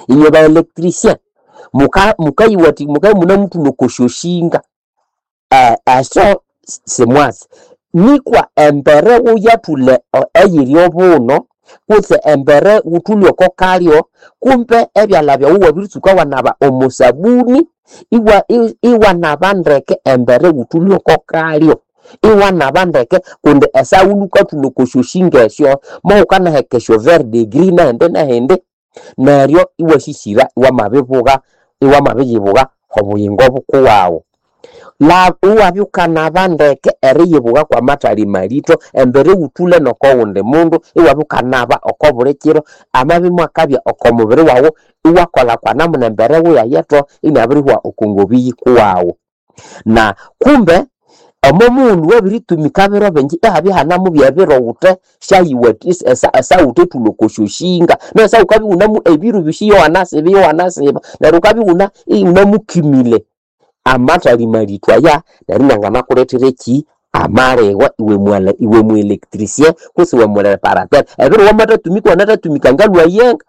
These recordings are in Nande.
Inywe ba electricien mukayiwathi mukabya imunemuthulha oko syoshinga, esyo simwatsi. Nikwa embere wuyathulha eyiri obuno kutse embere wuthulhe oko kalyo, kumbe ebyalha byawu iwabiritsuka iwanaba omo sabuni, iwanaba ndeke embere wuthulhe oko kalyo, iwanaba ndeke kundi esaghulhu wukathulha oko syoshinga esyo, mohukanaheka esyo verdigris nehindi nehindi, neryo iwasisira iwamabibugha iwamabiyibugha obuyingo bukuwaghu. Iwabya wukanaba ndeke eriyibugha kwamathali malitho embere wuthulhe noko wundi mundu, iwabya wukanaba oko buli kiro, amabya imwakabya oko mubiri waghu iwakolha kwa namuna embere wuyayetho inabirihwa oko ngobi yikuwaghu. Na kumbe omo mughulhu wabiritumika biro bingi ihabya ihanemubya ebiro wuthe esawuthethulha oko syoshinga, neryo wukabya iwunemu ebiro byosi iwanasiba iwanasiba neryo wukabya iwuna iwunamukimile amathali malitho aya neryo inianganakulethera eki? Amaligwa iwe iwe mu electricien kutse iwe mureparateur. Ebiro wamathatumika iwanathatumika ngalhwa yenga,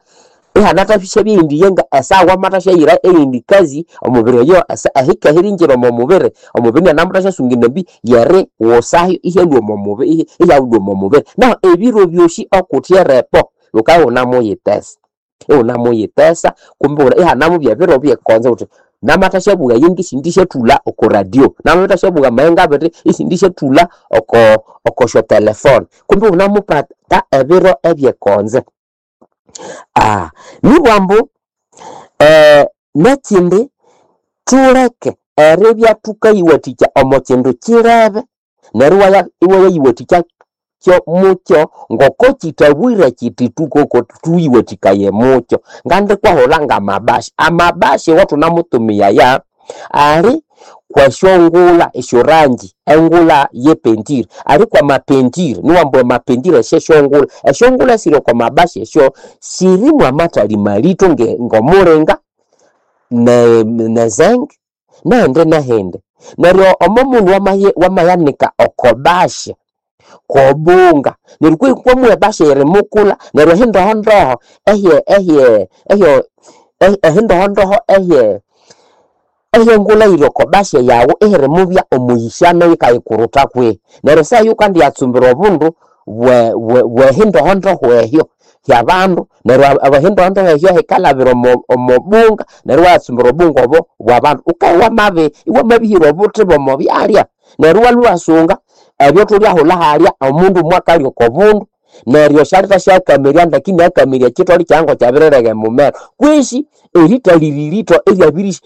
ihanathasyabya eyindi yenga esaha wamathasyaghira eyindi kazi omubiri oyo ehike erihingira omo mubiri, omubiri inianamuthasyasonga endambi yeriwusayo ihyalhwa omo mubiri ihyalhwa omo mubiri. Nahu ebiro byosi okuthe erepo wukabya iwunamuyithesa, iwunamuyithesa kumbe ihanamubya ebiro byekonzo wuthi namathasyabuwa eyenga isindisyathulha oko radio, namathasyabuwa amayenga abiri isindisyathulha oko okosyatelefone, kumbe iwunamupata ebiro ebyekonzo. Nibwa ambu nekindi thuleke eribya thukayiwathikya omo kindu kirebe neryo iwayayiwathikya kyo mukyo ngoko kithabwire kiti thukoko thuyiwathikaye mukyo. Ngandikwahulha ngamabasha, amabasha awathunamutumiyaya ali kwesyongulha esyorangi engulha yepentire, ali kwamapentire niwambu amapentire esyesyongulha, esyongulha esiri oko mabasha esyo sirimu amathali malitho ngomulinga nezenge nehindi nehindi. Neryo omo mughulhu wamayanika oko basha kwobunga neryo kwamuwa ebasha eyirimukulha neryo ehindohondoho ehye ehye ehyo ehindohondoho ehye ehyengulha eyiri oko basha yaghu ihirimubya omuyishano yikayikuruta kwihi. Neryo esaha eyo wukandiyatsumbira obundu bwehindohondoho ehyo hyabandu neryo ehindohondoho ehyo hikalhabira omo omobunga neryo iwayatsumbira obunga obo bwabandu. Wukabya iwamabihira obuthi bw'omo byalya neryo iwalhwa iwasunga ebyo thulyahulha halya omundu mwakalya oko bundu neryo syalithasyakamirya ndeke inakamirya ekitholi kyayi ngokyabirirega emumero kwisi erithalira eryabiri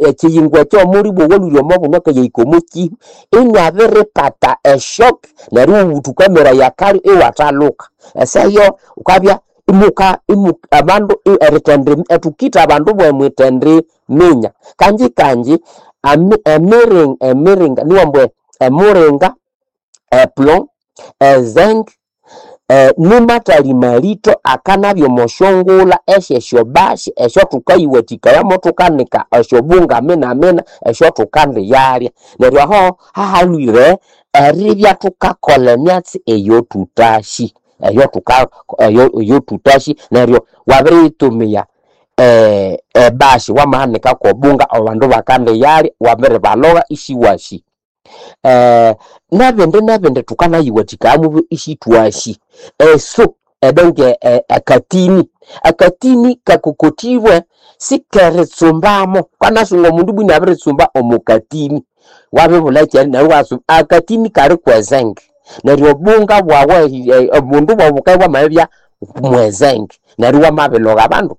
ekiyingo ekyo omulibwa owalhwire omo bundu akayahika omo kihu inabiripata eshock neryo iwuthukameraya akalyo iwathaluka. Esaha eyo wukabya imuka abandu erithendi thukitha abandu bwemwithendiminya. Kanji kanji emiringa niwambu emuringa, eplomb, ezinc nimathali malitho akanabya omo syongulha esyesyobasha esyaathukayiwathikayamu thukanika esyobunga minamina esyathukandiyalya. Neryo aho hahalhwire eribya thukakolha emyatsi eyothutasi eyothuka eyothutasi neryo wabiriyitumia ebasha wamahanika kwobunga abandu bakandiyalya wabiribalogha isiwasi. Nebindi nebindi thukanayiwathikayamu isithwasi. Eso edonke akatini, akatini kakokothibwe sikeritsumbamo, wukanasunga omundu ibwa inabiritsumba omo katini wabibulha ekyerya neryo iwatsumba akatini kali kwezenge neryo obunga bwaghu obundu bwaghu bukabya bwamabibya mwezenge neryo iwamabilogha abandu.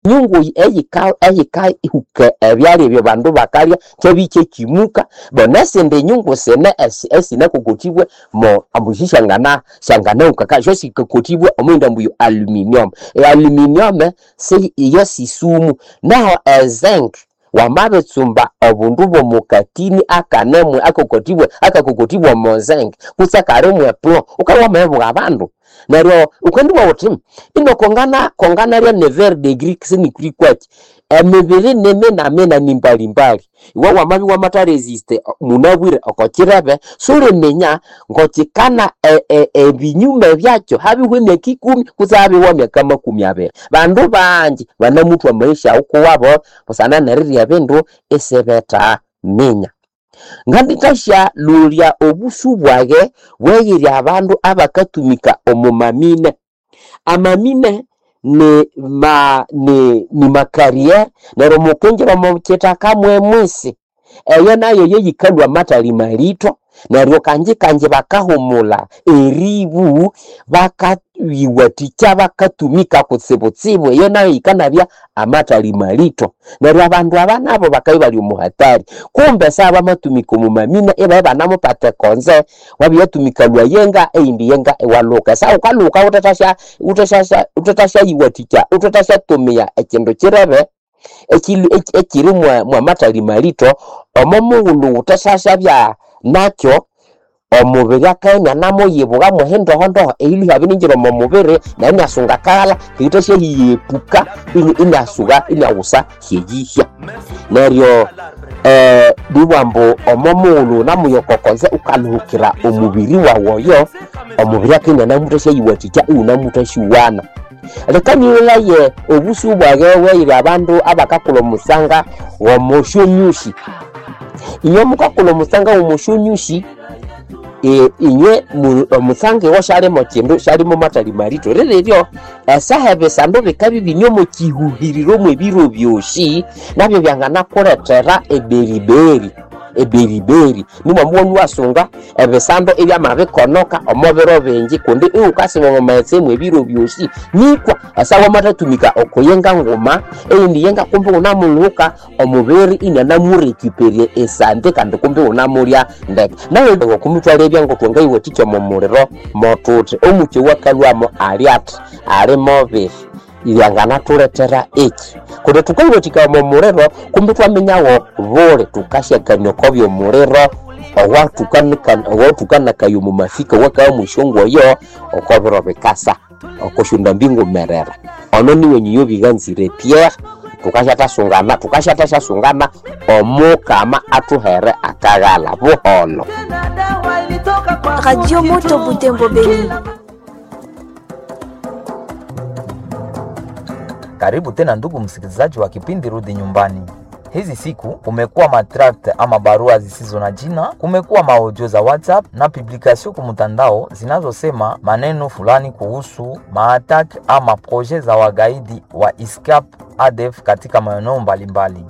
Nyungu eyika eyikahuka ebyalya ebyo abandu bakalya kyabya ikyakimuka bo nesindi nyungu sine esinakokothibwe mo ambu sisyangana syanganahuka syo sikakothibwe omwiyindi ambu aluminium. E aluminium si iyo sisumu naho ezinc wamabitsumba obundu bw'omo katini akanemu akakothibwe akakokothibwe omo zinc kutse akali mwe plomb wukabya wamabibugha abandu. Neryo wukandibugha wuthi ino kongana konganalya ne verdigris sinikuli kwaki. Emibiri ni mina-mina ni mbalimbali. Iwe wamabya iwamatheresiste munabwire oko kirebe, suliminya ngokikana ebinyume byakyo habihwa emyaka 10 kutse habihwa emyaka 20. Bandu bangi banamuthwa amaisha awukuwabo busana nerirya ebindu isibethaminya. Ngandithasya-lolya obusu bwage bweyirya abandu abakatumika omo mamine. Amamine ni ma ni makariyere neryo mukingira omo kithaka mwemwisi. Eyo nayo yeyikalhwa amathali malito neryo kanji kanji bakahumulha eribu bakayiwathikya bakatumika kutsibutsibu eyo nayo yikanabya amathali malito. Neryo abandu aba nabo bakabya ibali omo hatari. Kumbe esaha bamatumika omo mamine ibabya ibanamupata ekonze, wabyatumika lwayenga eyindi yenga iwalhuka. Esaha wukalhuka wuthethasyayiwathikya wuthethasyatumia ekindu kirebe ekiri mwamathali malito, omo mughulhu wuthethasya nakyo omubiri akabya inianamuyibuka mwehindohondoho eyilhwa iyabiringira omo mubiri neryo iniasunga akaghalha eyithasyayiyepuka iniasuba iniaghusa hyeyihya. Neryo nibugha ambu omo mughulhu wunamuya oko konze wukalhuhukira omubiri wawu oyo, omubiri akabya inianamuthasyayiwathikya iwunamuthasyiwana. Leka nyigholhaye obusu bwage bweyiri abandu abakakulha omusanga w'omosyonyusi. Inywe mukakulha omusanga w'omosyonyusi, inywe omusanga iwo syalimo kindu, syalimo mathali malito. Rireryo esaha ebisando bikabya ibine omo kihuhiriro mw'ebiro byosi, nabyo byanganakulethera eberiberi. Eberiberi nimwambu iwasunga ebisando ibyamabikonoka omo biro bingi kundi iwukasiba omo maghetse mw'ebiro byosi. Nikwa esaha wamathatumika oko yenga nguma, eyindi yenga kumbi iwunamulhuka omubiri inianamurecuperya esante kandi kumbi iwunamulya ndeke. Nayo ngokumithwalebya ngokwangayiwathikya omo muliro mothuthi. Omukyi owakalhwamo ali athi ali mubiri, lyanganathulethera eki. Kundi thukayiwathikaya omo muliro kumbi ithwaminyawo buli thukasyakania oko by'omuliro owathukanakaya omo mafika owakabya mwesyongoyo oko biro bikasa oko syondambi ngumerera. Ono niwe Nyobiganzire Pierre, thukasyathasungana thukasyathasyasunga Omukama athuhere akaghalha buholho. Radio Moto Butembo Beni. Karibu tena ndugu msikilizaji wa kipindi Rudi Nyumbani. Hizi siku kumekuwa matract ama barua zisizo na jina, kumekuwa maaudio za WhatsApp na publikasio kumtandao zinazosema maneno fulani kuhusu maatak ama proje za wagaidi wa ISCAP ADF katika maeneo mbalimbali.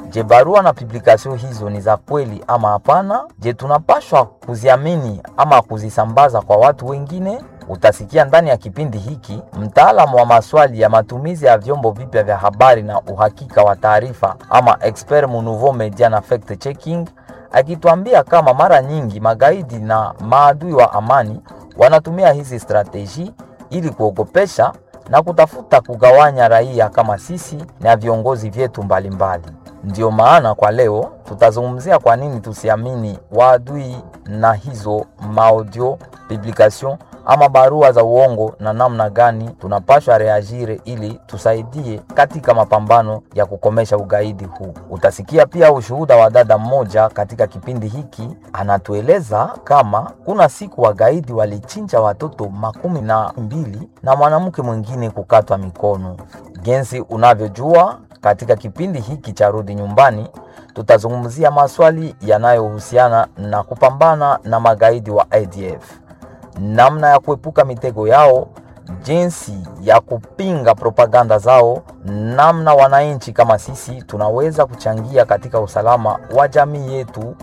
Je, barua na publikasio hizo ni za kweli ama hapana? Je, tunapashwa kuziamini ama kuzisambaza kwa watu wengine? Utasikia ndani ya kipindi hiki mtaalamu wa maswali ya matumizi ya vyombo vipya vya habari na uhakika wa taarifa ama expert mu nouveau media na fact checking akituambia kama mara nyingi magaidi na maadui wa amani wanatumia hizi strateji ili kuogopesha na kutafuta kugawanya raia kama sisi na viongozi vyetu mbalimbali. Ndiyo maana kwa leo tutazungumzia kwa nini tusiamini waadui na hizo maaudio publication ama barua za uongo na namna gani tunapashwa reagire ili tusaidie katika mapambano ya kukomesha ugaidi huu. Utasikia pia ushuhuda wa dada mmoja katika kipindi hiki, anatueleza kama kuna siku wagaidi walichinja watoto 12 na mwanamke mwingine kukatwa mikono. Jinsi unavyojua, katika kipindi hiki cha Rudi Nyumbani tutazungumzia maswali yanayohusiana na kupambana na magaidi wa ADF, namna ya kuepuka mitego yao, jinsi ya kupinga propaganda zao, namna wananchi kama sisi tunaweza kuchangia katika usalama wa jamii yetu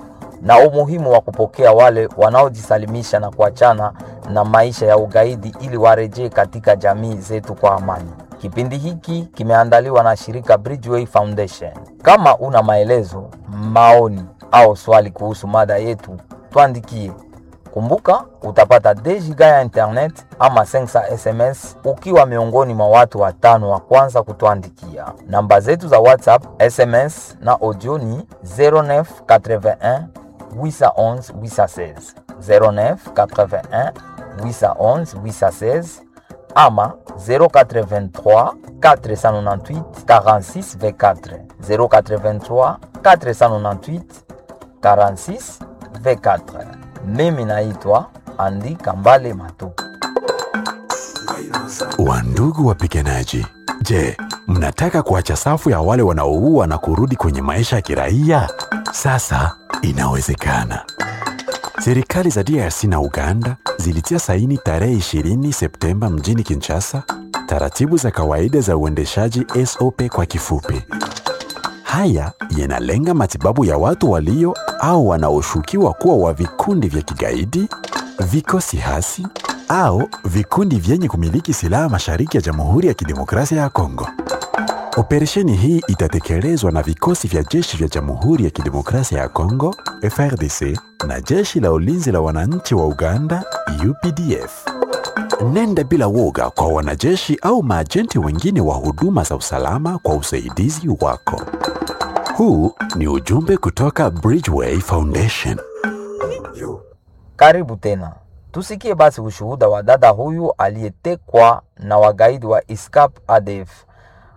na umuhimu wa kupokea wale wanaojisalimisha na kuachana na maisha ya ugaidi ili warejee katika jamii zetu kwa amani. Kipindi hiki kimeandaliwa na shirika Bridgeway Foundation. Kama una maelezo, maoni au swali kuhusu mada yetu, tuandikie. Kumbuka utapata 2 giga ya internet ama 500 SMS ukiwa miongoni mwa watu watano wa kwanza kutuandikia. Namba zetu za WhatsApp, SMS na audio ni 0981 811 816, 0981 811 816. ama 083 498 46 24 083 498 46 24. Mimi naitwa Andi Kambale Matu. Wandugu wapiganaji, je, mnataka kuacha safu ya wale wanaoua na kurudi kwenye maisha ya kiraia? Sasa inawezekana. Serikali za DRC na Uganda zilitia saini tarehe 20 Septemba mjini Kinshasa taratibu za kawaida za uendeshaji SOP kwa kifupi. Haya yanalenga matibabu ya watu walio au wanaoshukiwa kuwa wa vikundi vya kigaidi, vikosi hasi au vikundi vyenye kumiliki silaha mashariki ya Jamhuri ya Kidemokrasia ya Kongo. Operesheni hii itatekelezwa na vikosi vya jeshi vya Jamhuri ya Kidemokrasia ya Kongo FRDC na jeshi la ulinzi la wananchi wa Uganda UPDF. Nenda bila woga kwa wanajeshi au maajenti wengine wa huduma za usalama kwa usaidizi wako. Huu ni ujumbe kutoka Bridgeway Foundation. Karibu tena, tusikie basi ushuhuda wa dada huyu aliyetekwa na wagaidi wa ISCAP ADF.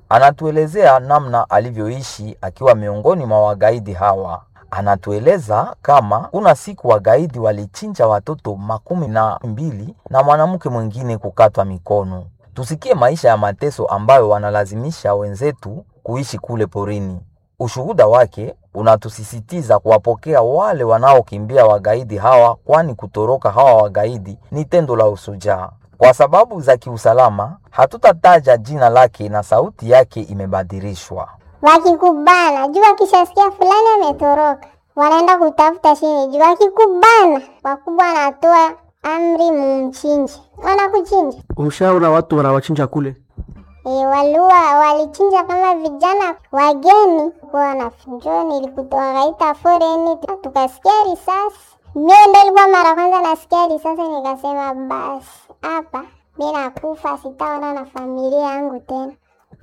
Anatuelezea namna alivyoishi akiwa miongoni mwa wagaidi hawa. Anatueleza kama kuna siku wagaidi walichinja watoto 12 na mwanamke mwingine kukatwa mikono. Tusikie maisha ya mateso ambayo wanalazimisha wenzetu kuishi kule porini. Ushuhuda wake unatusisitiza kuwapokea wale wanaokimbia wagaidi hawa, kwani kutoroka hawa wagaidi ni tendo la usujaa. Kwa sababu za kiusalama, hatutataja jina lake na sauti yake imebadilishwa. Wakikubana juu, wakishasikia fulani ametoroka, wanaenda kutafuta chini juu. Wakikubana, wakubwa wanatoa amri, mumchinje, wanakuchinja. Umshaona watu wanawachinja kule? E, walua walichinja kama vijana wageni kwa wanafunjo, nilikutoa foreni tukasikia risasi. Mie ndo ilikuwa mara kwanza nasikia risasi, nikasema basi hapa mi nakufa, sitaona na familia yangu tena.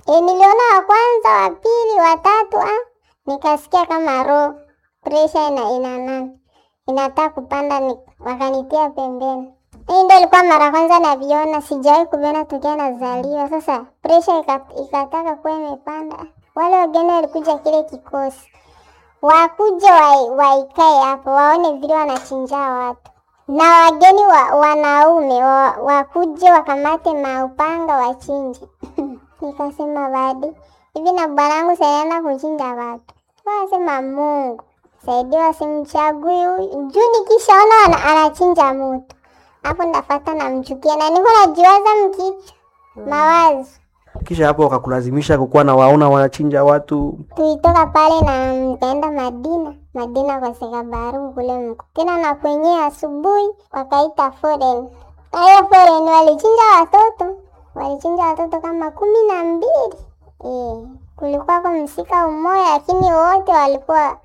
E, niliona wa kwanza, wa pili, wa tatu, ah, nikasikia kama roho pressure ina nani inataka kupanda, wakanitia pembeni. Hii ndo ilikuwa mara kwanza naviona, sijawahi kuviona tokea nazaliwa. Sasa pressure ikataka kuwa imepanda. Wale wageni walikuja kile kikosi, wakuja waikae hapo waone vile wanachinja watu, na wageni wanaume wakuje wakamate maupanga wachinje. Nikasema badi hivi na bwanangu saenda kuchinja watu, wanasema Mungu saidiwa, simchagui huyu juu nikishaona anachinja mutu hapo ndafata namchukia na niko najiwaza mkichwa mawazo. Kisha hapo wakakulazimisha kukuwa na waona wanachinja watu. Tulitoka pale na nikaenda Madina, Madina kwa Sekabaru kule mko tena na kwenye asubuhi wakaita foreign. Na hiyo foreign walichinja watoto, walichinja watoto kama 12. Kulikuwa kwa msika umoja, lakini wote walikuwa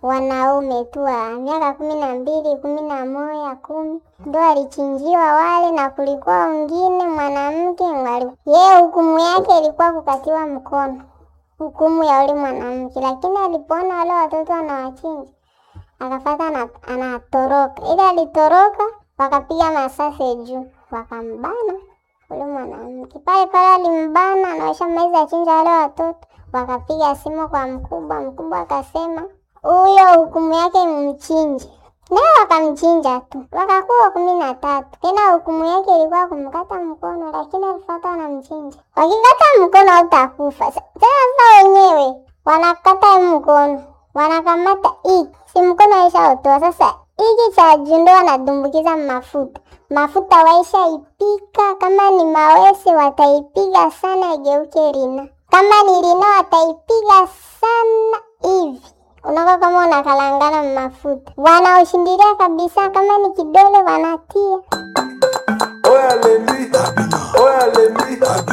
wanaume tu wa miaka 12, 11, 10 ndo walichinjiwa wale, na kulikuwa wengine mwanamke yeye hukumu yake ilikuwa kukatiwa mkono, hukumu ya yule mwanamke. Lakini alipoona wale watoto wanawachinja akafata anatoroka, ile alitoroka, wakapiga masasi juu, wakambana ule mwanamke pale pale, alimbana na washamaliza chinja wale watoto, wakapiga simu kwa mkubwa. Mkubwa akasema huyo hukumu yake mchinje, naye wakamchinja tu, wakakuwa 13. Tena hukumu yake ilikuwa kumkata mkono, lakini alifuata wanamchinja. Wakikata mkono hautakufa. Tena sasa wenyewe wanakata mkono, wanakamata hiki, si mkono waishautoa. Sasa hiki cha juu ndo wanadumbukiza mafuta, mafuta waishaipika. Kama ni mawese wataipiga sana igeuke rina, kama ni rina wataipiga sana hivi unakuwa kama unakalangana mafuta, wanaoshindilia kabisa. Kama ni kidole wanatia.